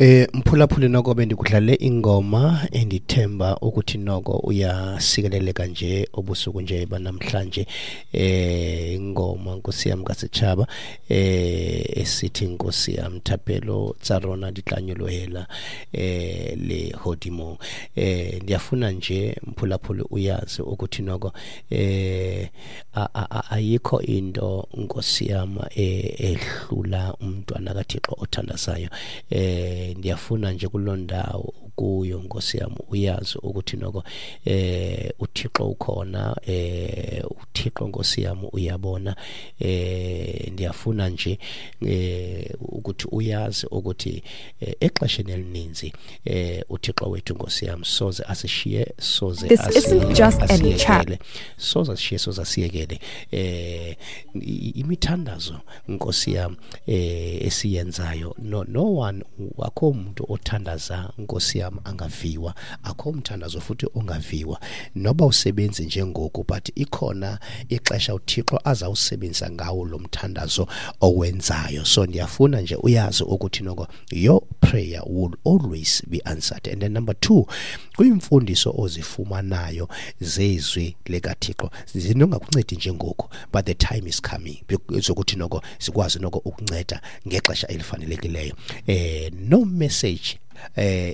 Mphulaphuli, noko bendikudlale ingoma endithemba ukuthi noko uyasikeleleka nje obusuku nje banamhlanje. Ingoma, Nkosi yam kaSechaba, esithi, Nkosi yam, thapelo tsa rona di tla nyolohela lehodimo. Ndiyafuna nje, mphulaphuli, uyazi ukuthi noko ayikho into, Nkosi yam, ehlula umntwana kaThixo othandazayo. Ndiyafuna nje kuloo ndawo kuyo, Nkosi yam, uyazi ukuthi noko uThixo ukhona, uThixo, Nkosi yam, uyabona. Ndiyafuna nje ukuthi uyazi ukuthi exesheni elininzi uThixo wethu, Nkosi yam, soze asishiye, soze This isn't just any chat. asiyekele, soze asishiye, soze asiyekele. Imithandazo, Nkosi yam, esiyenzayo, no one, akho umuntu othandaza, Nkosi yam, angaviwa. Akho umthandazo futhi ongaviwa, noba usebenzi njengoku, but ikhona ixesha uThixo azawusebenzisa ngawo lo mthandazo owenzayo. So ndiyafuna nje uyazi ukuthi noko your prayer will always be answered. And then number two, kwiimfundiso ozifumanayo zezwi likaThixo, zinongakuncedi njengoku, but the time is coming zokuthi noko sikwazi noko ukunceda ngexesha elifanelekileyo. No message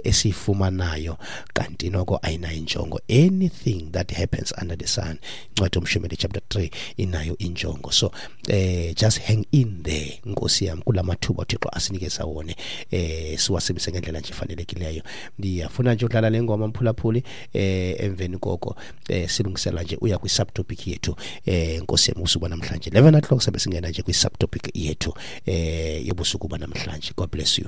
esiyifumanayo kanti noko ayinayo injongo. Anything that happens under the sun, incwadi yoMshumeli chapter 3, inayo injongo. So just hang in there, Nkosi yam, kula mathuba uThixo asinikeza wone, siwasebenzise ngendlela nje efanelekileyo. Ndiyafuna nje udlala le ngoma, mphulaphuli, emveni koko silungisela nje uya kwi-subtopic yethu, Nkosi yam, usuku namhlanje 11 o'clock sabe singena nje kwi-subtopic yethu yobusuku banamhlanje. God bless you.